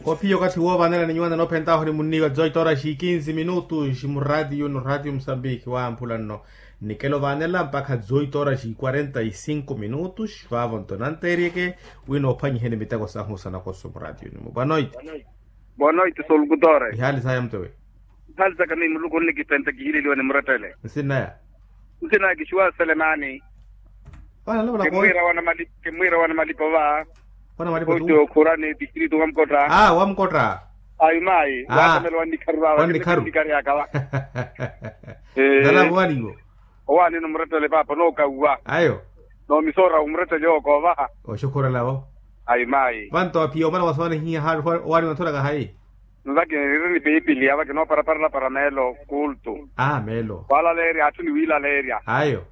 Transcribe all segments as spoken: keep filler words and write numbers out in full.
Ophiya okathi woovaanela ni nyuwana noophentaho ni munniiwa dezoito horas e quinze minutos muraatiyo no raatiyo musambiki wamphula nno. Nikelo vaanela mpakha dezoito horas e quarenta e cinco minutos vaavo nto nanteeryeke wina ophwanyiheni miteko sahu sanakoso muraatiyo ni mubwanoiti. Boa noite, solukutoore. Ihaali saya mtewe? Ihaali saka miyo muluku onnikipenta kihileliwa ni murettele. Nsinaya? Nsinaya kixiwa selemani. Kimwira wana malipo va. Wana malipo tu. Okhurani distritu wamkotta. Aa wamkotta. Ayi mayi. Watamela wannikharu va wannikharu. Nalapo waniwo. Owaani ni murettele paapa nookauwa. Ayo. Noomisoora omurettele ookoovaha. Oxukhurelavo. Ayi mayi. Vanto aphiya omana wasowana ihiya haali owaani wanthulaka hayi? Nvake niri ni piipiliya vake nooparaparela para meelo kultu. Aa meelo. Walaleerya atthu ni wiilaleerya. Ayo.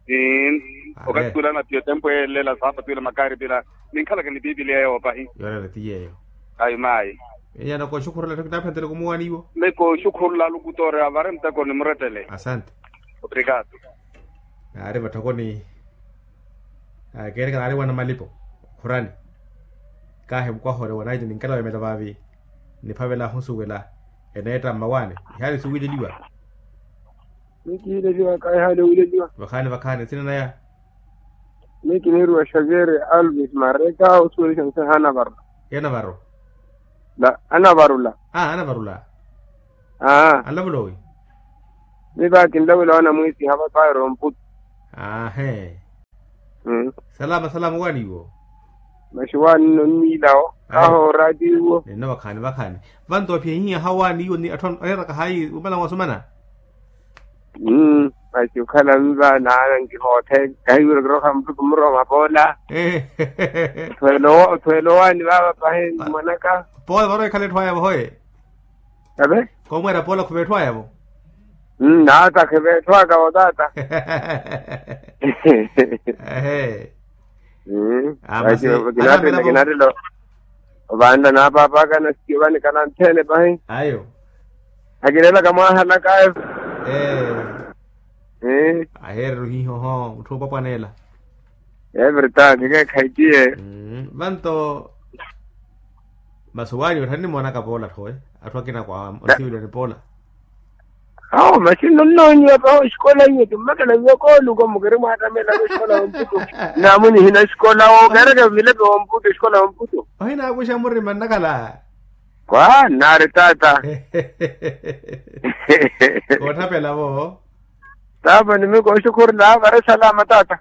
Ii. Okathi tuulana piyo tempu elela saapa tuula makaari pila. Ninkhalaka ni piipiliya yoopahi. Yoolela ti yeeyo. Ayi mayi. Enyana kooxukhurela etthu kinaaphentere kumuwaani iwo. Meyo kooxukhurela alukutoore avare muteko ni murettele. Asante. Obrigado. Naari vatthokoni. Keereka naari wana malipo khurani. Kaahi mukwaha ori wanaiti ninkela wemela vaavi. Niphavela ahusuwela eneetta mmawaani. Ihaali suwileliwa. Mikiileliwa kaahi ihaali owileliwa. Vakhaani vakhaani nsina naya. Miyo kiniiriwa xavier alves mareka osuwelisha nse hanavarula. Hanavarula. Aa anavarula. Aa anlavula owi? Miyo va kinlavula wana mwiisi hava pairo mputu. Aahe. Salama salama owaani iwo? Maxi owaani nno nniilawo. Aho oraati iwo. Ninno vakhaani vakhaani. Vanto ophiya hiya hawaani iwo ni atthu aneeraka hayi wumala wasumana. Masi okhala miva naana nkihoothe kahiwira kirooha muttu kumuroma poola. Othweela owaani vaava pahi mwanaka. Poola varowa ekhala etthu aya vahoye. Ave. Komweera poola khuveetthwaya vo. Naata khiveetthwaka vo taata. Ehe. Kinatela kinatela. Ovaanla naapaapaaka na sikivani kana nthene pahi. Ayo. Akineelaka mwahalaka. Ee. Aheereryo hiihoho mutthu oopwapwaneela. Evertag keekhaitiye. Vanto masi owaani ottha nnimoonaka poola tthoowe. Atthu akina kwa onsiwiliwa ni poola. Awo masi nonnoonyiwa paho oxikola iwe kimmakela wiwa kooluko mukiri mwaattamela oxikola womputu. Namu nihina oxikola wo keereke milepe womputu oxikola womputu. Ohinakuxa murima nnakhala. Kwa nnaari taata. Kootthapela vo. Taapa nimiko oxukhurela vari salama taata.